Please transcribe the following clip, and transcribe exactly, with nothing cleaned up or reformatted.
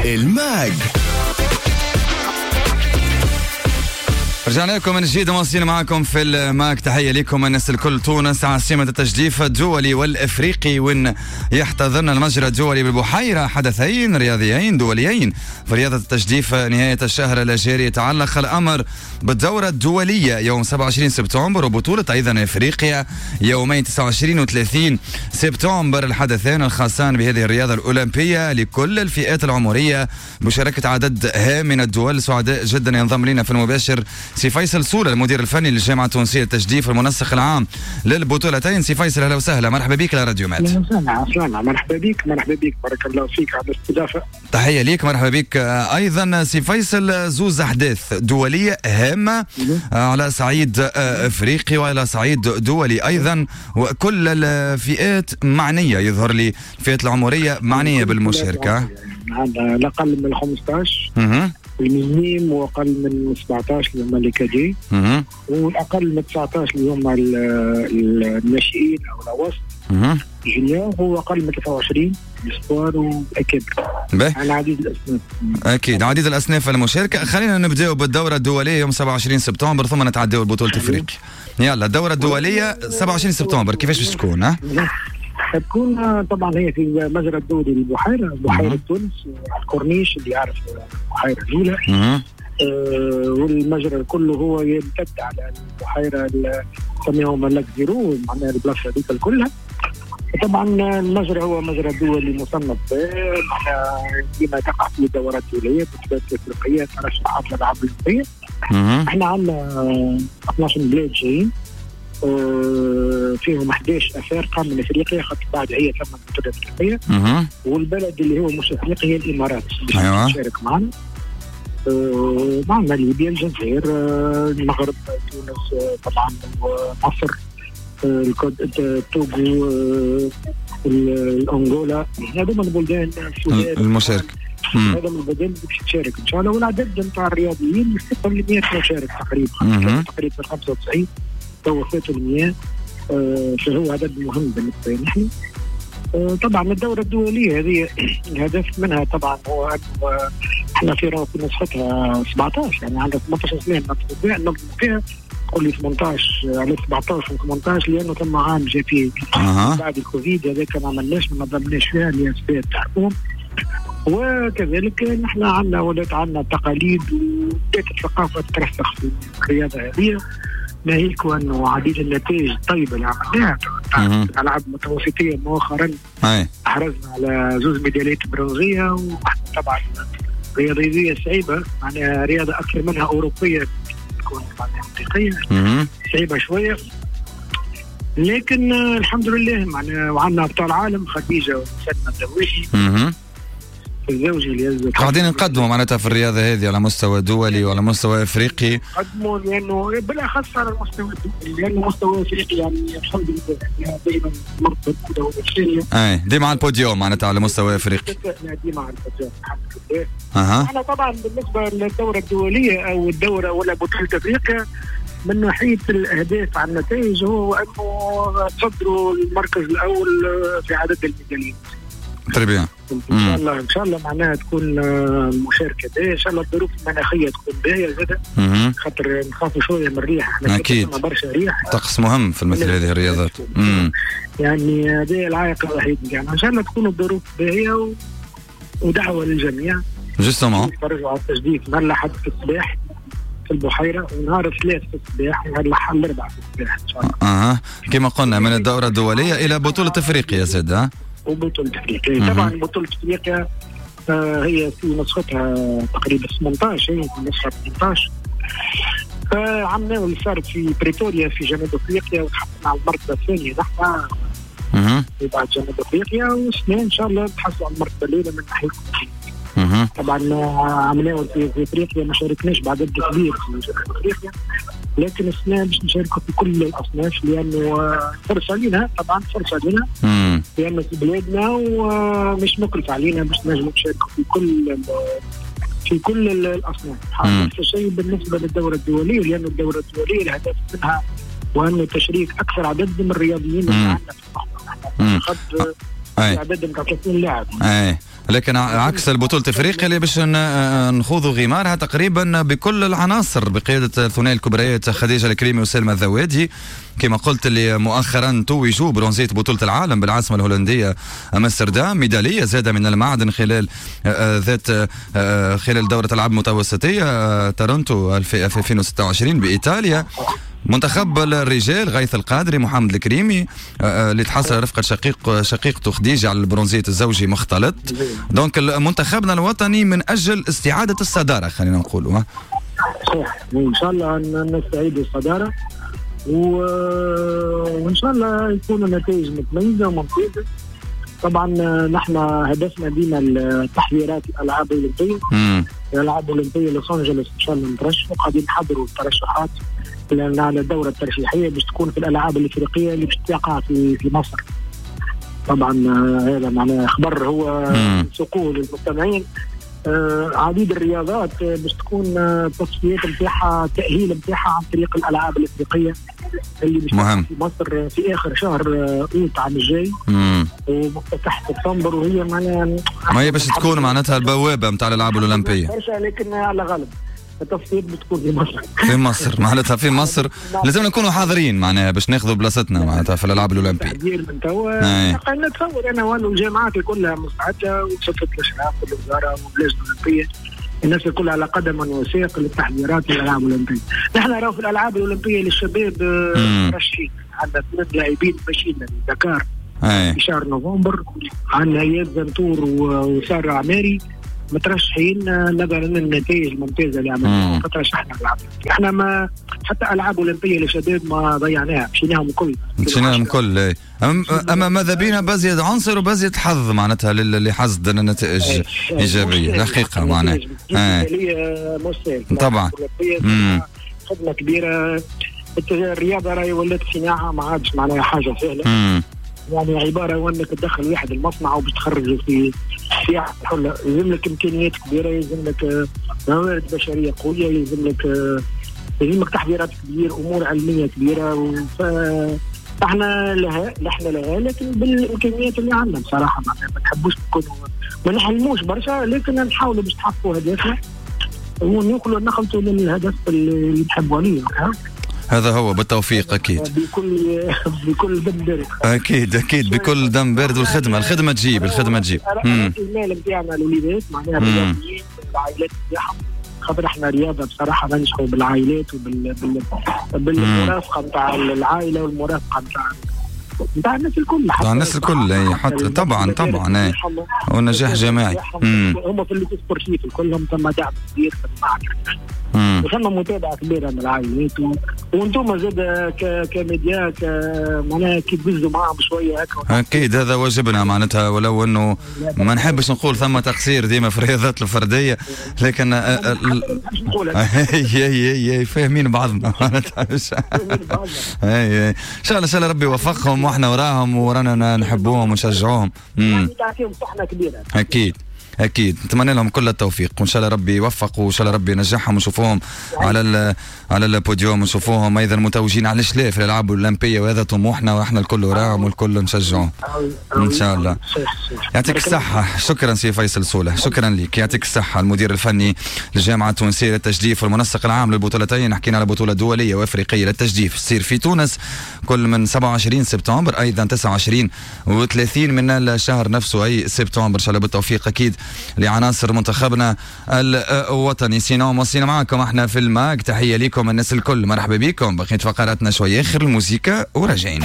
الماج. رجعنا لكم من جديد مواصلين معكم في الماك. تحية لكم الناس الكل. تونس عاصمة التجديف الدولي والإفريقي، وين يحتضن المجرى الدولي بالبحيرة حدثين رياضيين دوليين في رياضة التجديف نهاية الشهر الجاري. يتعلق الأمر بالدورة الدولية يوم سبعة وعشرين سبتمبر وبطولة أيضا إفريقيا يومين تسعة وعشرين وثلاثين سبتمبر. الحدثان الخاصان بهذه الرياضة الأولمبية لكل الفئات العمرية بمشاركة عدد هام من الدول. سعداء جدا ينضم لنا في المباشر سي فيصل سولة، المدير الفني للجامعة التونسية للتجديف المنسق العام للبطولتين. سي فيصل أهلا وسهلا، مرحبا بك لراديو ماد. أهلا وسهلا، مرحبا بك، مرحبا بك، بارك الله فيك على الاستضافة. تحية ليك، مرحبا بك أيضا سي فيصل. زوز أحداث دولية هامة على صعيد أفريقي وعلى صعيد دولي أيضا، وكل الفئات معنية، يظهر لي الفئات العمرية معنية بالمشاركة. عندنا الأقل من خمسة عشر ال minimes واقل من سبعة عشر اللي هما les cadets، والاقل من تسعة عشر اللي هما الناشئين او الاوسط junior، واقل من ثلاثة وعشرين espoirs واكابر. على عديد الاصناف. اكيد عديد الاصناف المشاركة. خلينا نبداو بالدوره الدولية يوم سبعة وعشرين سبتمبر ثم نتعداو لبطولة افريقيا. يلا الدورة الدولية سبعة وعشرين سبتمبر كيفاش باش تكون؟ ها؟ تكون طبعا هي في المجرى الدولي للبحيرة، بحيرة تونس على الكورنيش اللي يعرف البحيرة الأولى. آه والمجرى كله هو يمتد على البحيرة نسميهم lac zéro، معناها البلاصة هذيك كلها. طبعا المجرى هو مجرى دولي مصنف، معناها ديما تقع فيه دورات دولية، بطولات أفريقية، ترشحات للألعاب الأولمبية. احنا عندنا اثناش بلاد جايين، فيهم أحد عشر أفارقة من أفريقيا، خاطر بعد هي ثم بطولة أفريقية. والبلد اللي هو مش أفريقي هي الإمارات باش أيوة. تشارك معنا. معنا ليبيا، الجزائر، المغرب، تونس طبعا، ومصر، التوغو، الأنغولا. هذوما البلدان المشاركة، هذا من البلدان اللي باش تشارك إن شاء الله. والعدد نتاع الرياضيين يوصل ل مئة مشارك تقريبا، تقريبا خمسة وتسعين تو فاتوا المياه، فهو عدد مهم بالنسبة لنا نحن. طبعا الدورة الدولية هذه الهدف منها طبعا هو أنه احنا في في نسختها سبعة عشر، يعني عندنا ثمانية عشر سنة ننظم فيها، تقول لي ثمانية عشر على سبعة عشر و ثمانية عشر لأنه ثم عام جا فيه بعد الكوفيد، هذاك ما عملناش، ما نظمناش فيها لأسباب تعرفون. وكذلك نحن عندنا ولات عندنا تقاليد وبدات الثقافة ترسخ في الرياضة هذه، ناهيك أنه عديد النتائج الطيبة اللي عملناها الألعاب المتوسطية مؤخرا. أحرزنا على زوج ميداليات برونزية، وإحنا طبعا رياضية صعيبة، معناها رياضة أكثر منها أوروبية تكون معناها حقيقية صعيبة شوية، لكن الحمد لله معناها وعندنا أبطال عالم خديجة وسلمى الدويشي الزوجي اللي قاعدين نقدموا معناتها في الرياضة هذه على مستوى دولي وعلى مستوى افريقي. نقدموا لانه بالاخص على المستوى الدولي، لانه مستوى افريقي يعني الحمد لله دائما المرتبة الاولى والثانية. اي ديما على البوديوم معناتها على مستوى افريقي. ديما على البوديوم الحمد لله. اها. احنا طبعا بالنسبة للدورة الدولية او الدورة ولا بطوله افريقيا من ناحية الاهداف على النتائج هو انه تصدروا المركز الاول في عدد الميداليات. très bien. ان شاء الله ان شاء الله معناها تكون مشاركة باهيه، ان شاء الله الظروف المناخية تكون باهيه زاده، خاطر نخافوا شوية من الريح، احنا اكيد برشا ريح، طقس مهم في مثل هذه الرياضات. مم. يعني هذا العائق الوحيد، يعني ان شاء الله تكون الظروف باهيه و... ودعوة للجميع justement يتفرجوا على التجديف نهار الاحد في الصباح في البحيرة، ونهار الثلاث في الصباح، ونهار الاربعاء في الصباح ان شاء الله. اها كما قلنا من الدورة الدولية الى بطوله افريقيا زاد. ها وبطولة أفريقيا طبعا بطولة أفريقيا آه هي في نسختها تقريبا ثمانية عشر، هي في نسخة ثمانية عشر عملنا اللي صارت في بريتوريا في جنوب أفريقيا، وتحصلنا على المرتبة الثانية نحن بعد جنوب أفريقيا، والسنة إن شاء الله نتحصلوا على المرتبة الأولى من ناحية. طبعا عملناه في أفريقيا ما شاركناش بعدد كبير في جنوب أفريقيا، لكن السنة باش نشاركوا في كل الأصناف لأنه فرصة لنا، طبعا فرصة لنا لأنه في بلادنا ومش مكلف علينا باش نجموا نشاركوا في كل في كل الأصناف. نفس الشيء بالنسبة للدورة الدولية، لأن الدورة الدولية الهدف منها وأنه تشريك أكثر عدد من الرياضيين اللي عندنا في الصحراء. نحن خد عدد من ثلاثين لاعب. أي. لكن عكس البطولة افريقيا اللي باش نخوضوا غمارها تقريبا بكل العناصر بقيادة الثنائي الكبريات خديجة الكريمي وسلمى الذوادي، كما قلت اللي مؤخرا توجوا برونزية بطولة العالم بالعاصمة الهولندية أمستردام، ميدالية زادة من المعدن خلال ذات خلال دورة الألعاب المتوسطية تورنتو ألفين وستة وعشرين بإيطاليا. منتخب الرجال غيث القادري محمد الكريمي اللي تحصل رفقة شقيق شقيقته خديجة على البرونزية الزوجي مختلط. donc منتخبنا الوطني من أجل استعادة الصدارة خلينا نقولوا. صح، وإن شاء الله نستعيد الصدارة و... وإن شاء الله يكون النتائج متميزة وممتازة. طبعا نحن هدفنا ديما التحضيرات الألعاب الأولمبية، الألعاب الأولمبية لوس أنجلوس إن شاء الله نترشح، قاعدين نحضروا الترشحات على الدورة الترشيحية باش تكون في الألعاب الإفريقية اللي باش تقع في في مصر. طبعا هذا معناه خبر هو سقوه للمستمعين. آه عديد الرياضات باش تكون التصفيات نتاعها التأهيل نتاعها عن طريق الألعاب الإفريقية اللي باش تقع في مصر في آخر شهر أوت عام الجاي ومفتتح سبتمبر، وهي معناها ما هي باش تكون معناتها البوابة نتاع الألعاب الأولمبية لكن على غالب التصفيات بتكون في مصر. في مصر معناتها في مصر لازم نكونوا حاضرين معناها باش ناخذوا بلاصتنا معناتها في الالعاب الاولمبية. تحضير من توا نتصور انا وانه الجامعات كلها مستعدة وصفه الاشراف والوزارة واللجنة الاولمبية الناس الكل على قدم وساق للتحضيرات للالعاب الاولمبية. نحن راهو في الالعاب الاولمبية للشباب مرشحين، عندنا اثنين لاعبين ماشيين لدكار في شهر نوفمبر، عندنا اياد زنتور وسارة عماري مترشحين نظرا للنتائج الممتازة اللي عملناها فترشحنا العاب. احنا ما حتى العاب اولمبيه للشباب ما ضيعناها، مشيناهم الكل مشيناهم الكل. اما ماذا بينا بزيد عنصر وبزيد حظ معناتها اللي حصد النتائج ايجابية الحقيقة معناها طبعا خدمة كبيرة. الرياضة راهي ولات صناعة ما عادش معناها حاجة سهلة. مم. يعني عبارة وانك تدخل واحد المصنع وباش تخرجه في في حله، يلزم لك امكانيات كبيرة، يلزم لك موارد بشرية قوية، يلزم لك يلزم لك تحضيرات كبيرة، امور علمية كبيرة. ف احنا لها نحن لها لكن بالامكانيات اللي عندنا بصراحة معناها ما نحبوش نكونوا ما نحلموش برشا، لكن نحاولوا باش نحققوا هدفنا ونوصلوا نخلطوا للهدف اللي نحبوا عليه. هذا هو بالتوفيق اكيد بكل بكل دم بارد. اكيد اكيد بكل دم بارد، والخدمة الخدمة تجيب الخدمة تجيب. المال نتاعنا الوليدات معناها الرياضيين العائلات نتاعهم، خاطر احنا رياضة بصراحة ننجحوا بالعائلات وبال بالمرافقه نتاع العائلة والمرافقه نتاع نتاع الناس الكل، نتاع الناس الكل حتى طبعا طبعا والنجاح جماعي. هم في ال sportif كلهم ثم دعم كبير في المعهد وثم متابعه كبيرة من العائلات، وانتم زاد كميديا ك معناها كي تبزوا معاهم شوية هكا. اكيد هذا واجبنا معناتها، ولو انه ما نحبش نقول ثم تقصير ديما في الرياضات الفردية، لكن هي هي هي فاهمين بعضنا معناتها. هي ان شاء الله ان شاء الله ربي يوفقهم واحنا وراهم ورانا نحبوهم ونشجعوهم. تعطيهم صحنه كبيرة اكيد اكيد، نتمنى لهم كل التوفيق وان شاء الله ربي يوفق وان شاء الله ربي ينجحهم ونشوفوهم على على البوديوم ونشوفوهم ايضا متوجين علاش لا في الالعاب الاولمبية، وهذا طموحنا واحنا الكل وراهم والكل نشجعهم ان شاء الله. يعطيك الصحة، شكرا سي فيصل سوله، شكرا لك، يعطيك الصحة المدير الفني للجامعة التونسية للتجديف والمنسق العام للبطولتين. حكينا على بطوله دولية وافريقيه للتجديف تصير في تونس كل من سبعة وعشرين سبتمبر ايضا تسعة وعشرين وثلاثين من الشهر نفسه اي سبتمبر. ان شاء الله بالتوفيق اكيد لعناصر منتخبنا الوطني. sinon مواصلين معاكم احنا في الماك، تحية لكم الناس الكل، مرحبا بكم. بقيت فقراتنا شوية اخر الموسيقى وراجعين.